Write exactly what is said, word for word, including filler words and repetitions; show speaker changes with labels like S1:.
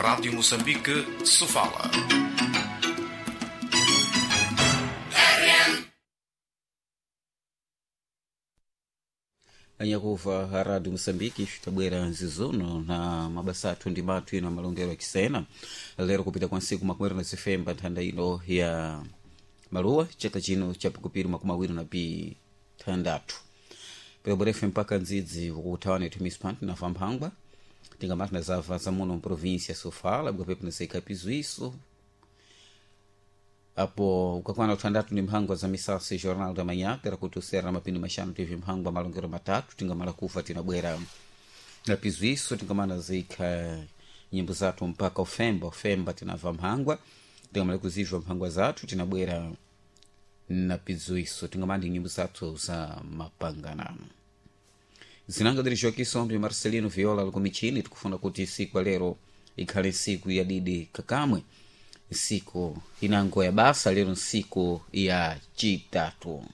S1: Rádio Moçambique, Sofala.
S2: Anyakuva a Rádio Moçambique tabwera nzizono na mabasa athu ndi mathu ino amalongero akisena lero kupita kwa nsiku makumweri na zifemba nthanda ino ya maluwa chaka chino chapikupiri makumi awiri na pithandathu peloborefe mpaka ndzidzi ukuthawana ithu mispant nafa mphangwa tingamati nazava zamuno mprovinsia Sofala bwapepo naseikapizwiso apo ukakwana uthandatu ndi mphangwa za misasa jornal da manhã pera kuti usera mapindu maxanu tv mphangwa malongero matatu tingamala kufa tinabwera na pizwiso tingamana zikha nyimbo zathu mpaka ufemba ufemba tinava mphangwa tingamala kuzibva mphangwa zathu tinabwera na pizwiso tingamana ndi nyimbo zathu za mapanganano zinanga dirijokiso Marcelino Viola likumichini tikufuna kuti siku ya lero ikhale nsiku ya didi kakamwe nsiku inango ya basa lero nsiku ya chitatu.